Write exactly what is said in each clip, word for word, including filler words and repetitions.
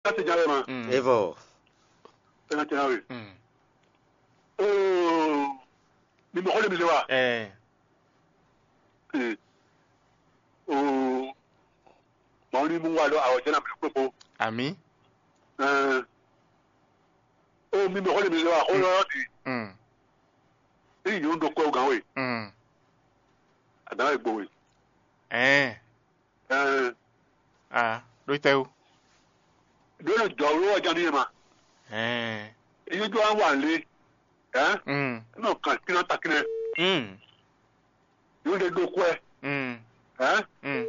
Ká se ján wɛ ma. Mm. Evɔ. Ɛ ná tɛn wɛ. Mm. Oo, mi mɔ xɔ de mi se wa. Ɛ. Ee. Oo, mɔ ni mu wa lɔ awɔ jɛ na mi kpekpo. Ami. Ɛɛ. Oo, mi mɔ xɔ de mi se wa xɔ lɔ di. Mm. Eyi yóò ɖo kɔ gan we. Mm. Adan wɛ gbo we. Ɛɛ. Ɛɛ. Ah, ɖo tɛ o. Ɖo nɔ jɔ wlo wa jan ni ma. Ɛɛ. Eyi jɔ wa wa le. Ɛɛ. Mm. Nɔ kan kina ta kina. Mm. Yóò de ɖo kɔɛ. Mm. Ɛɛ. Mm.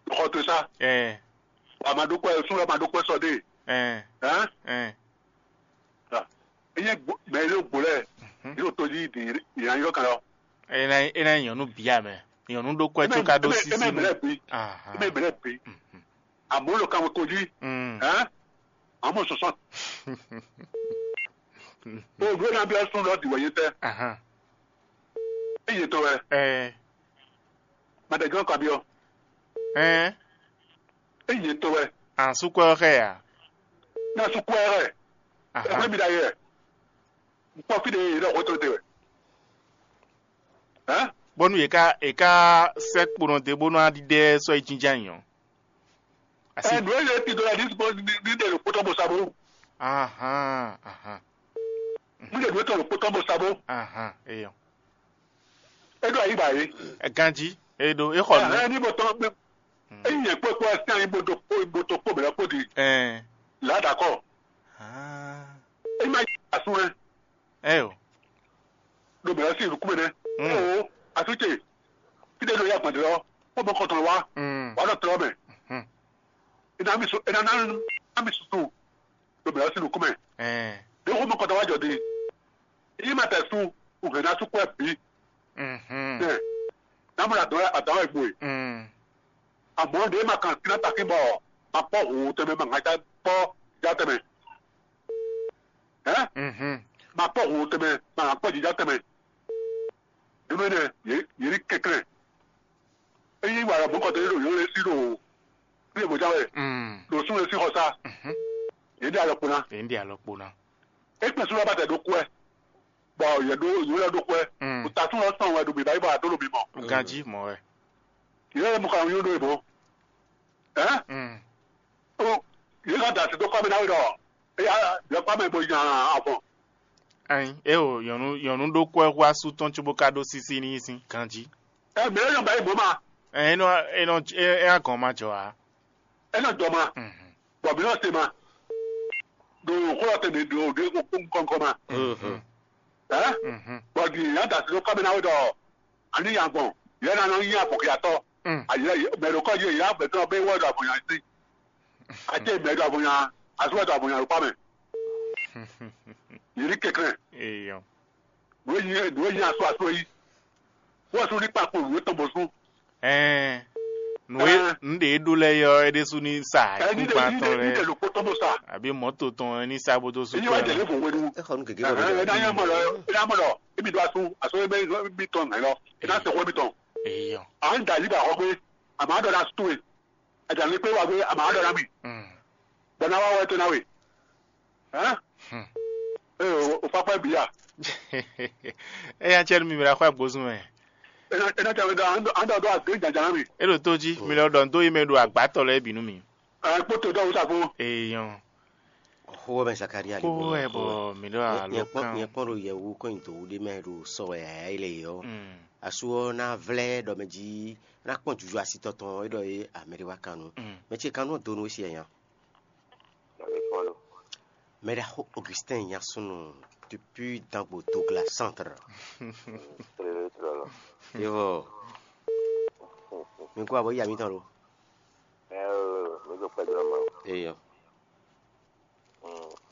Xɔ to sa. Ɛɛ. Wa ma ɖo kɔɛ, sun wa ma ɖo kɔɛ sɔ de. Ɛɛ. Ɛɛ. Ɛɛ. Enye mɛ e ɖo gbo lɛ, yóò tó jí di yàn yóò kan lɔ. E ná e ná nyɔnu bia mɛ. Nyɔnu ɖo kɔɛ tso ka ɖó sisi mɛ. Ahan. Eme mɛ lɛ bi. Amɔ lo kan ko jí. Mm. Ɛn. Amɔ sɔsɔ. O ɖo na bi asun lɔ di wɔ yé tɛ. Ahan. Eye tɔ wɛ. Ɛɛ. Madɛgán kan bi ɔ. Ɛɛ. Eye tɔ wɛ. An sukɔ xɛ ya. Na sukɔ xɛ. Ahan. Ɛgbẹ́ mi da yɛ. N kpɔ fi ɖe yě ɖɔ xó tɔn te wɛ. Hɛn? Bónú yě ká yě ká sɛ́ kponɔ dó bónú á ɖiɖɛ sɔ́ yi jínjɔ́n ayǐ ɔ́. Asi. Ɛ nǔ e yě ti dó la ní bó ní ní ɖe ɖo kpótɔ́ bó sa bó. Ahan, ahan. Ní ɖe nǔ e tɔn ɖo kpótɔ́ bó sa bó. Ahan, eyɔ. É ɖo ayǐ ba yě. Ganjí, e ɖo é xɔ nǔ. Ɛhɛn ní bó tɔn é nyɛ kpó kpó ɛ sín ayǐ bó tó kpó bó tó kpó bɛ̌ kpó di. Ɛɛ. Là d'accord. Ah. É má yí asún ɛ. Ɛ o. Ɖo bɛ̌ sín nukúnmɛ nɛ́. Mm. Ɛ o, asúce. Fíɖé ɖo yá gbɔn dɔ́, kó mɔ kɔtɔn wá. Mm. Wá ɖɔ tlɔ́ mɛ. Mm. Ina mi su ina na na mi susu. Ɖo bɛ̌ sín nukúnmɛ. Ɛɛ. Ɖé kó mɔ kɔtɔn wá jɔ di. Yí ma tɛ su, ùhɛn ná sú kɔ́ ɛ bǐ. Mhm. Ɛ. Ná mɔ adɔn adɔn ɛ gbo e. Mm. Àmọ́ ɖé ma kan kíná takín bɔ ma kpɔ́ hǔn tɛnmɛ ma ŋa já kpɔ́ já tɛnmɛ. Hɛn? Mhm. Ma kpɔ́ hǔn tɛnmɛ ma ŋa kpɔ́ jǐjá tɛnmɛ. Nínú énɛ́, yě yě ní kɛnklɛ́n. Ényí wǎ lɔ mɔ̌kɔtɔn yě ɖo yǒ lɛ́ɛ sí ɖo fí e bó já wɛ, Mm. Ɖo súnnu e sín xɔ sá. Mhm. Yě ɖe alɔ kpo ná. Yě ɖe alɔ kpo ná. É kpɛn súnnu ɔ́ bá tɛ ɖó kú ɛ, bɔ yě ɖó yǒ lɛ́ɛ ɖó kú ɛ. Mm. Bó ta súnnu ɔ́ sɔn wɛ ɖo bǐbá yí bɔ a dó ɖo bǐ mɔ. Ganjí mɔ wɛ. Yě lɛ́ɛ mɔ xɔ àwọn yó ɖó ìbò. Hɛn? Mm. Ó, yě ká da sí dó kɔ́ mɛ ná wí ɖɔ éyá yɔ kɔ́ mɛ bó nya avɔn. Ayin, é o nyɔnu nyɔnu ɖó kú ɛ xú asú tɔn cóbó ká ɖó sísí ní sín ganjí. Ɛ mɛ é nɔ ba yí bó ma. Ɛ é nɔ é nɔ é é agɔn ma jɔ ǎ. É nɔ jɔ ma. Mhm. Bɔ mǐ nɔ se ma. Ɖo xó ɔ́ tɛnmɛ ɖo ɖě kɔ́nkɔ́n ma. Mhm. Ɛ Mhm. Bɔ di yě ná da sí dó kɔ́ mɛ ná wí ɖɔ a ní nya gbɔn, yě ná nɔ nyí abɔ̌xyatɔ́. Mm. Ayǐ mɛ ɖo kɔ́ yě yě ná gbɛ̌ tɔn bé wɛ ɖo avɔnya sí. Ate mɛ ɖo avɔnya, asú wɛ ɖo avɔnya ɖo kpá mɛ. Yě ní kɛnklɛ́n. Eyɔ. Nǔ e nyí nǔ e nyí asú asú é yí. Wọ́n sú ní kpakpo nǔ e tɔn bɔ sú. Ɛɛ. Nǔ e Ɛɛ. Nǔ ɖe e ɖó lɛ́ɛ yɔ é ɖésú ní sa Ɛ ní ɖe ikúngban ní tɔn ɖe ní lɛ́ɛ ɖe ɖo kpó tɔn bó sa. Àbí mɔ̌to tɔn ní sa bó dó sú Èyí wá kpɛ́ jẹ lé ɔ́. Fò wéɖú. Exɔ nu gègé bɔ Ɛhɛn, ɛ ná nyɛ mɔ lɔ, ɛ ná mɔ lɔ, émi ɖó asú, asú émi mi tɔn nǎ lɔ, ɛ ná se xó émi tɔn. Eyɔ. À ń da yí ba xɔ gbé, àmọ́ á ɖɔ ná sú we. Àjà ní pé wá gbé, àmọ́ á ɖɔ ná mi. Mm. Bɔ ná wá wá ètò ná we. Hɛn? Hmm. Ee, o o fa kpɛ bi ya. Eya cɛ nu mi mla xɔ agbozun mɛ. Ena ena tɛ wɛ dɔ an dɔ an dɔ dɔ agbe jaja na mi. E ɖo tó jí, mi lɔ ɖɔ n dó yi mɛ ɖo agbátɔ lɛ́ɛ bǐ nú mi. Ɛ kpótó dɔ wusa fún. Eyɔn. Xó wɛ mɛ Zakaria Xó wɛ bɔ mi ɖɔ alo nyɛ kpɔn kan. Nyɛ kpɔn ɖo yɛwu kɔn nyi dǒwu ɖé mɛ ɖo sɔ wɛ yaya yi le yɔ. Mm. Asu ɔ na vlɛ ɖɔ mɛ jí na kpɔn juju asi tɔtɔn e ɖɔ ye amɛ ɖé wa kan nu. Mm. Mɛ ce kan nu do nu esi nya. Mɛ ɖaxó Augustin Nyasunu depuis Dangbo Douglas Centre. Yo. Mi kó abo ya mi tɔn lo. Ɛ mi ko kpɛ jɔ ma. Eyo.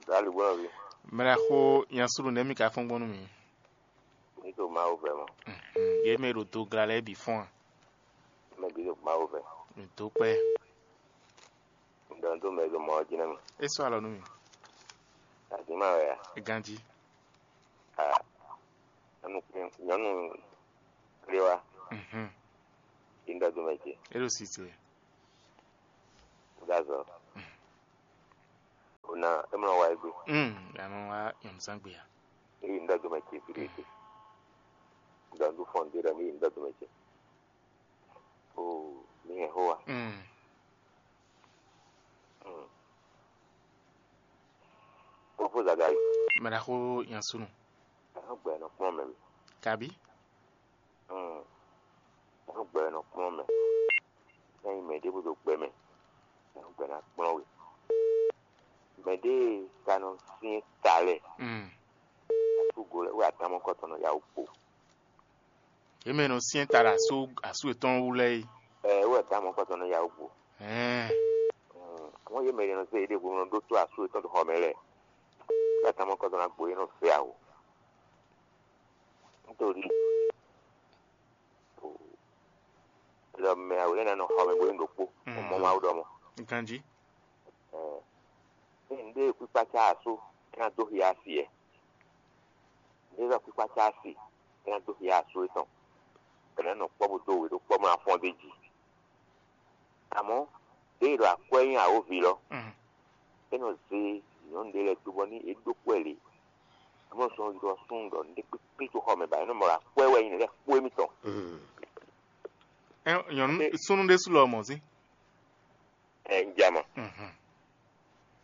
Dali bwana bi. Mɛ ɖaxó Nyasunu nɛ mi ka fɔn gbɔn nú mi. Mi to Mawu vɛ mɔ. Ye mɛ ɖo Douglas lɛ bi fɔn. Mɛ bi to Mawu vɛ. Mi to kpɛ. Ŋdɔ tó mɛ ɖo mɔ ɔ́ jí nɛ́ mɛ. É sɔ́ alɔ nú mì. Azǐn ma wɛ a? Ganjí. A nyɔnu nyɔnu kplé wa. Mhm. Yi ŋdɔ tó mɛ ce. É ɖo si ce. Gazɔ. Ah, é mlɔ wa égbé. Mm, ya nɔ wá nyɔ̌nuzán gbe ya. Eye un ɖɔ dɔmɛ ce fi ɖé ce. Un ɖɔ un ɖó fɔn ɖé ɖɔ ní eye un ɖɔ dɔmɛ ce. Oo, mi hɛn xó wa. Mm. Mm. Fofo Zagari. Mɛ ɖaxó Yansunu. Ɛhɔn gbɛ nɔ kplɔ́n mɛ mi. Kabi? Mm. Ɛhɔn gbɛ nɔ kplɔ́n mɛ. Ényí mɛ ɖěbǔ ɖo gbɛ mɛ, ɛhɔn gbɛ ná kplɔ́n we. Mɛ ɖě ka nɔ syɛ́n ta lɛ́ɛ, Mm. asúgo lɛ́ɛ wɛ atamɔkɔtɔn nɔ yá wú kpo. Yě mɛ nɔ syɛ́n ta ɖo asú asú yětɔn wú lɛ́ɛ é. Ɛɛ, wɛ atamɔkɔtɔn nɔ yá wú kpo. Hɛn. Mm. Wọ́n yě mɛ ɖě nɔ zé yěɖée hwenu nɔ ɖótó asú yětɔn ɖo xɔ mɛ lɛ́ɛ. Wɛ atamɔkɔtɔn ná gbo yě nɔ fɛ awo. Nítorí ɖɔ mɛ awo lɛ́ɛ ná nɔ xɔ mɛ bó nyí ɖokpó. Mm. Mɔ Mawu ɖɔ mɔ. Ganjí. Ɛɛ, ní nǔɖé kpíkpácá asú é ná dó xia asi ɛ. Nǔɖé zɔ kpíkpácá asi é ná dó xia asú étɔn. Bɛ̌ ná nɔ kpɔ́ bó dó we ɖó kpɔ́ mɔ afɔn d'é jí. Àmọ́, ɖěe ɖɔ akwɛ́ nyí awǒvi lɔ, Mm. é nɔ zé nyɔ̌nu ɖé lɛ́ɛ dó bɔ ní é ɖó kú ɛ lě. Amɔ̌ sɔ́ ylɔ́ súnnu ɖɔ nǔɖé kpékpé tó xɔ mɛ ba é nɔ mɔ ɖɔ akwɛ́ wɛ nyí nǔɖé kpó émítɔn. Ɛ, nyɔ̌nu súnnu ɖésú lɔ mɔ̌ sín. Ɛ, un ja mɔ. Mhm.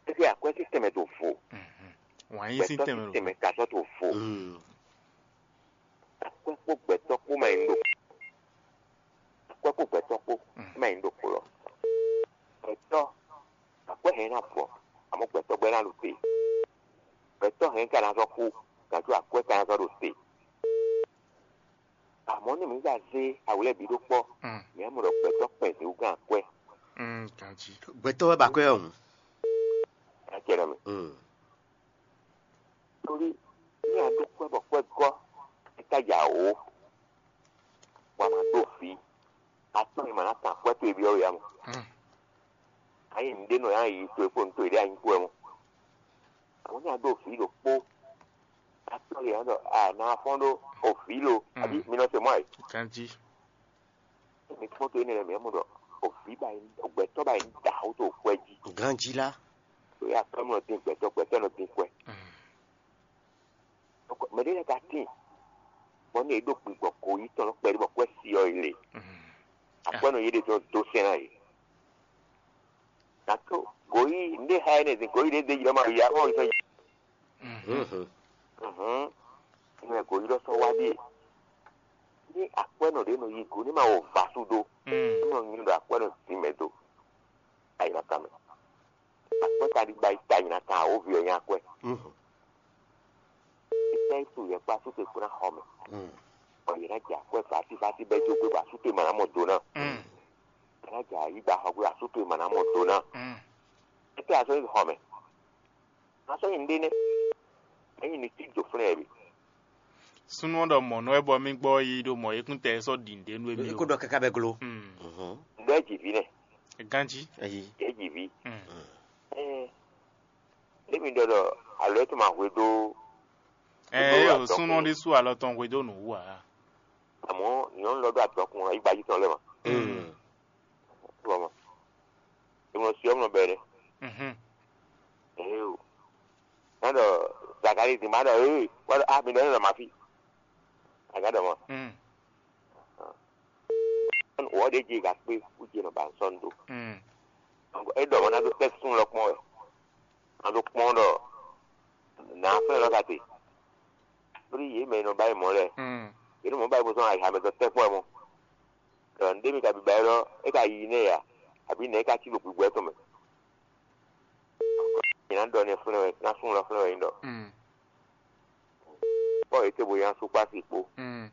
Éɖée akwɛ́ sín tɛnmɛ to vo. Mhm. Wǎn yí sín gbɛtɔ́ tɛnmɛ sín ɖo tɛnmɛ ka sɔ́ to vo. Mm. Akwɛ́ kpó gbɛtɔ́ kpó ma nyí ɖo. Akwɛ́ kpó gbɛtɔ́ kpó Mm. ma nyí ɖo kplɔ́. Gbɛtɔ́ akwɛ́ hɛn ná vɔ, àmọ́ gbɛtɔ́ gbɛ́ ná ɖo te. Gbɛtɔ́ hɛn ka ná sɔ́ kú, gǎn có akwɛ́ ka ná sɔ́ ɖo te. Àmọ́ ní mǐ ka zé awǔ lɛ́ɛ bǐ ɖó kpɔ́, Mm. mǐ á mɔ ɖɔ gbɛtɔ́ kpɛn zǐngán akwɛ́. Mm, ganjí. Gbɛtɔ́ wɛ ba akwɛ́ ɔ́ hǔn. Acɛ nɔ mì. Mm. Torí ní a ɖó kwɛ́ bɔ kwɛ́ gɔ́, é ka ja wǒ, bɔ a ma ɖó vǐ, atɔ́ e ma ná kan akwɛ́ towe byɔ́ we ǎ mɔ. Mm. A nyí nǔɖé nɔ yá yi towe kpó nǔ towe ɖé a nyí kpó wɛ mɔ. Àwọn ní a ɖó vǐ ɖokpó, atɔ́ e ǎ ɖɔ a nǎ fɔ́n ɖó o vǐ lo, Mm. àbí mi nɔ se mɔ ayǐ. Ganjí. Mi kpɔ́n to énɛ́ lɛ́ɛ mɛ mɔ ɖɔ o vǐ ba nyí, o gbɛtɔ́ ba nyí da wú to kwɛ́ jí. Ganjí lá. Ɖo ya kpɛ́ mɔ dín gbɛtɔ́, gbɛtɔ́ nɔ dín kwɛ́. Mm. Mɛ ɖé lɛ́ɛ ka tíin, bɔ ní è ɖó gbigbɔ kǒ yi tɔn nɔ kpɛɖé bɔ kwɛ́ si ɔ́ yi le. Mm. Akwɛ́nɔ yé ɖe tɔn dó sɛn ná yě. Gǎn tó gǒyí nǔɖé xa énɛ́ din, gǒyí ɖě dé yi ɔ́ ma yi ǎ, ɔ́ yi sɔ́ yi. Mhm. Mhm. Hǔn mɛ gǒyí lɔ sɔ́ wá ɖíe. Ní akwɛ́nɔ ɖě nɔ yi gǒ ní ma wɔ vasu ɖó, Mm. ní nɔ nyi ɖɔ akwɛ́nɔ dín mɛ dó. Ayǐ ná kan mɛ. Akwɛ́ ka ɖi gba yi ta nyi ná kan awǒvi ɔ́ nyí akwɛ́. Mhm. Ìtɛ́ yi su yɛ kpó asú towe kpó ná xɔ mɛ. Mm. Bɔ yě ná jɛ akwɛ́ vati vati bɛ́ jó gbé bɔ asú towe ma ná mɔ do ná. Mm. Yě ná jɛ ayǐ gba xɔ gbé bɔ asú towe ma ná mɔ do ná. Mm. Étɛ́ a sɔ́ yi xɔ mɛ? A sɔ́ yi nǔɖé nɛ́. Ényí ní cí do flɛ́n ɛ bǐ. Súnnu ɔ́ ɖɔ mɔ̌ nú wɛ bɔ mí gbɔ yi ɖo mɔ̌ yíkúntɛ́ sɔ́ ɖi nǔɖé nú émí É ó. Kó ɖɔ káká bɛ́ gló. Mm. Mhm. Ɖɔ é ji vǐ nɛ. Ganjí. Ayi. É ji vǐ. Mm. Ɛɛ, émi ɖɔ ɖɔ alo é tún ma hwe dó. Ɛ Ɖó é o atɔkùn. Súnnu ɔ́ ɖésú alɔ tɔn hwedó nǔ wú ǎ. Àmọ́ nyɔ̌nu lɔ ɖó atɔkùn ayígbají tɔn lɛ́ɛ mɔ. Mm. Bɔ mɔ. Ìmọ̀ sí ọmọ bẹ̀rẹ̀. Mhm. Ee o. Má ɖɔ Zakari dín má ɖɔ ee wá ɖɔ ah mi ɖɔ ní lɔ ma fí. Aga ɖɔ mɔ. Mm. Wɔ ɖe dzi ga kpe wú dzi nɔ ba nsɔ ndo. Mm. Donc e ɖɔ mɔ na do tɛ sun lɔ kpɔn wɛ. Na do kpɔn ɖɔ na fɛn lɔ ka te. Lórí yě mɛ nɔ ba yi mɔ lɛ. Mm. Yě nɔ mɔ ba yi mɔ sɔn ayi hamɛ dɔ tɛ kpɔn mɔ. Ɖɔ ŋɖe mi ka bi ba yi lɔ e ka yi nɛ ya. Abi nɛ e ka ci ɖo gbigbɔ etɔn mɛ. Nyina ɖɔ nɛ flɛn wɛ na sun lɔ flɛn wɛ nyi ɖɔ. Mm. Kpɔ ete bo nya su kpasi kpo. Mm.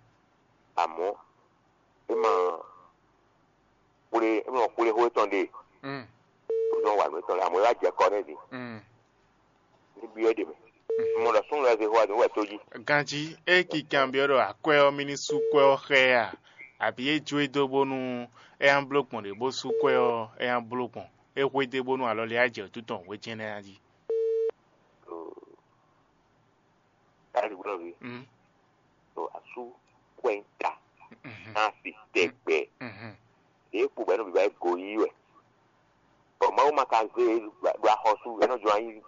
Àmọ́ é ma kplé é ma kplé xó étɔn ɖe. Mm. Ó zɔn wà nú étɔn lɛ àmọ́ é wá jɛ kɔ nɛ din. Mm. Ní byɔ́ é ɖe mɛ. Mɔ ɖɔ súnnu lɛ́ɛ zé xó wá din wɛ tó jí. Ganjí é kikan byɔ́ ɖɔ akwɛ́ ɔ́ mí ní sú kwɛ́ ɔ́ xá ɛ a? Abǐ é jó e dó bónú é ná bló gbɔn ɖě bó sú kwɛ́ ɔ́ é ná bló gbɔn. É xwedó bónú alɔ lɛ́ɛ á jɛ wǔtu tɔn hwéjɛ́nɛ́ ná jí. Káàdì gbọ́dọ̀ bí. Mm. Tó asú kwɛ́ ń ta Mhm. Á sì tɛgbɛ. Mhm. Ɖě kpo bɔ é nɔ bǐ wá é go yí wɛ. Bɔ Mawu ma ka zé e ɖo axɔ́sú é nɔ jɔ anyi